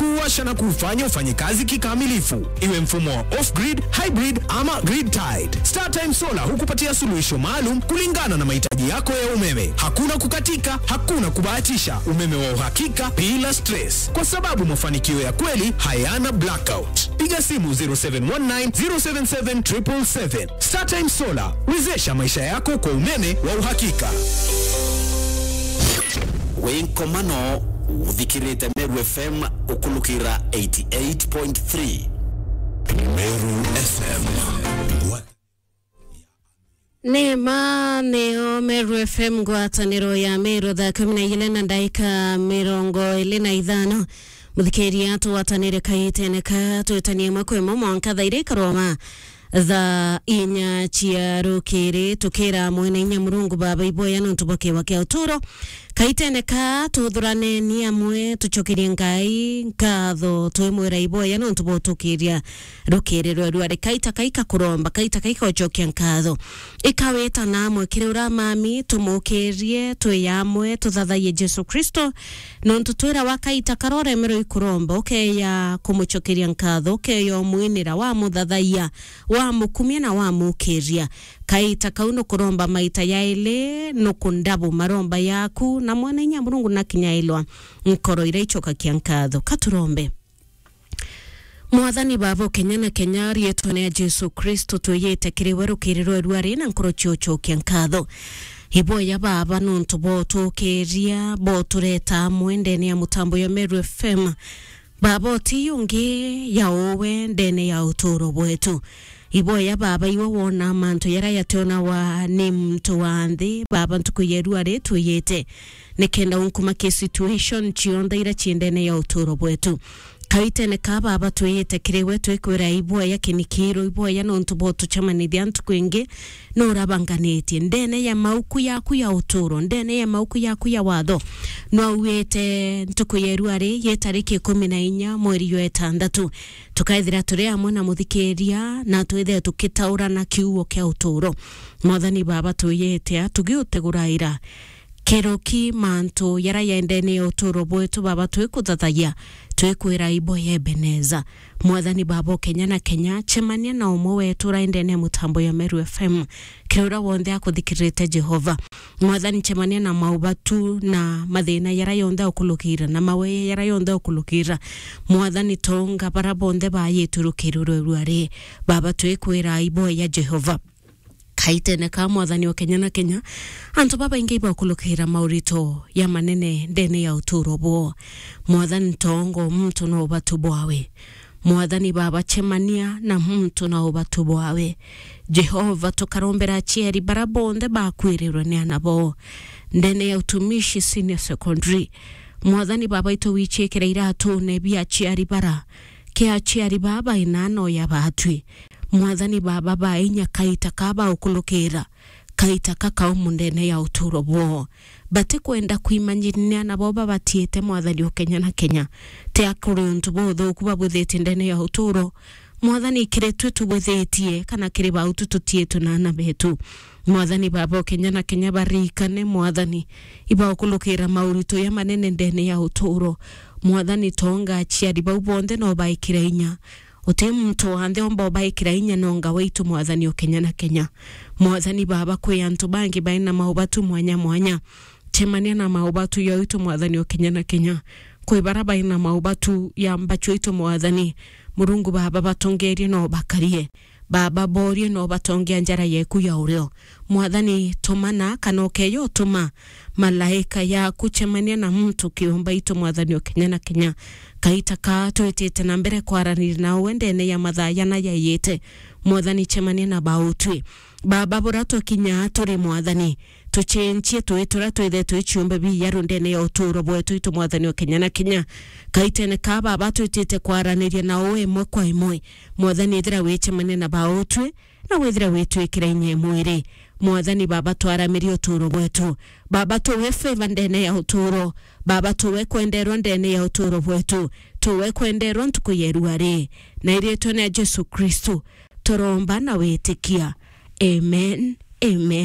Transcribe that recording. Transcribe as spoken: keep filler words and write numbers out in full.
kuwasha na kufanya ufanye kazi kikamilifu, iwe mfumo wa off-grid, hybrid ama grid-tied. StarTime Solar hukupatia suluhisho maalum kulingana na mahitaji yako ya umeme. Hakuna kukatika, hakuna kubahatisha, umeme wa uhakika bila stress, kwa sababu mafanikio ya kweli hayana blackout. Piga simu zero seven one nine zero seven seven triple seven. StarTime Solar, wezesha maisha yako kwa umeme wa uhakika. Wi nkomano, uthikirite Meru F M ukulukira eighty eight point three. Meru F M. Ni ma nio Meru F M, ngwataniro ya Meru, thaa kumi na igiri na ndaika mirongo iri na ithano. Muthikiria, tugwatanire kaitene ka twitanie imwe kwa imwe mwanka thaa iria ikaroma thaa inya cia rukiri, tukira Mwene Inya Murungu Baba iboya nontu bwa kiwa kia uturo. Kaitene ka tuthurane ni amwe, tucokerie Ngai nkatho, twimwira iboya nontu bwa utukiria rukiri rweru. Ari kaita kaika kuromba, kaita kaika ucokia nkatho. Ikawita na amwe kiri uria mami, tumukirie, twi amwe, tuthathayie Jesu Kristo, nontu twirawa kaita karia uremerwe ikuromba, ukeya kumucokeria nkatho, ukeya umwinira, wamuthathayia, wamukumia na wamukiria. Kaita kau nukuromba maita yaili, nukundabu maromba yaku, na Mwene Inya Murungu nakinyailwa nkoro iria icokakia nkatho. Katurombe. Mwathani Baba, o kenya na kenya, riitwene ya Jesu Kristo, twiyite kiri we rukiri rweru ari na nkoro cia ucokia nkatho. Iboya Baba nontu bwa utukiria, bwa utureta amwe ndene ya mutambo ya Meru F M. Baba, uti ungi ya uwe ndene ya uturo bwetu. Iboya Baba, iwe wona mantu jaria jationawa ni muntu wa nthi. Baba, ntuku yeru ari twiyite nikenda unkumakie situation cionthe iria ci ndene ya uturo bwetu. Kaitene ka Baba, twiyite kiri we, twikwira iboya kinikiiro, iboya nontu bwa utucemanithia ntuku ingi, nurabanganitie ndene ya mauku yaku ya uturo, ndene ya mauku yaku ya watho. Nwauite ntuku yeru ari yi tariki ikumi na inya mweri jwa itandatu, tukaithira turi amwe na muthikiria, na twithire tukitaurana kiugo kia uturo. Mwathani Baba, twiyite a tugiuteguraira kiroki mantu jaria jaendene ya uturo bwetu. Baba, twikuthathagia, twikwira iboya Ebeneza. Mwathani Baba, o kenya na kenya, cemania na umwe wetu uraendene ya mutambo ya Meru F M, kiri uria wonthe akuthikiririte Jehova. Mwathani, cemania na maubatu na mathina jaria yonthe ukulukira, na maweye jaria yonthe ukulukira. Mwathani, tonga baria bonthe bayitu rukiri rweru ari. Baba, twikwira iboya Jehova. Kaitene ka Mwathani wa kenya na kenya, antu babaingi ibakulukira maurito ya manene ndene ya uturo bwoo. Mwathani, tongo muntu na ubatu bwawe. Mwathani Baba, cemania na muntu na ubatu bwawe. Jehova, tukarombera aciari bara bonthe bakwirirwe ni ana boo ndene ya Utumishi Senior Secondary. Mwathani Baba, itu wichikire iratune bia aciari bara, ke aciari baba inano ya batwi. Mwathani Baba, ba inya kaita ka baukulukira, kaita ka kaumu ndene ya uturo bwoo. Batikwenda kwimanyirania nabo babatiite, Mwathani, o kenya na kenya. Ti akuri untu buthuku babwithitie ndene ya uturo. Mwathani, kiri twi tubwithitie, kana kiri bautu tutiitwe na ana betu. Mwathani Baba, o kenya na kenya, barikane, Mwathani, ibaukulukira maurito ya manene ndene ya uturo. Mwathani, tonga aciari bau bonthe no baikire inya. Uti muntu wa nthi omba ubaikira inya nonga waitu, Mwathani, o kenya na kenya. Mwathani Baba, kwi antu bangi baina maubatu mwanya mwanya. Cemania na maubatu yaitu, Mwathani, o kenya na kenya. Kwi bara baina maubatu ya mbachu itu, Mwathani. Murungu Baba, batongerie no bakarie. Baba, borie no batongia njara yeku ya urio. Mwathani, tumana kana ukeyo utuma malaika yaku, cemania na muntu kiumba itu, Mwathani, o kenya na kenya. Kaita ka twitite na mbere kwaraniria na uwe ndene ya mathaa jana jaiyite. Mwathani, cemania na bautwi. Baba, bura twakinya turi, Mwathani, tucenjie twi turia twithe twi ciumbe biijaru ndene ya uturo bwetu itu, Mwathani, o kenya na kenya. Kaitene ka Baba, twitite kwaraniria na uwe imwe kwa imwe. Mwathani, ithira wicemania na bautwi, na withire witwikira inya imwe iri. Mwathani Baba, twaramirie uturo bwetu. Baba, tuwe favor ndene ya uturo. Baba, tuwe kwenderwa ndene ya uturo bwetu. Tuwe kwenderwa ntuku ya irua ri. Na iritwa ria Jesu Kristu, turomba na witikia. Amen. Amen.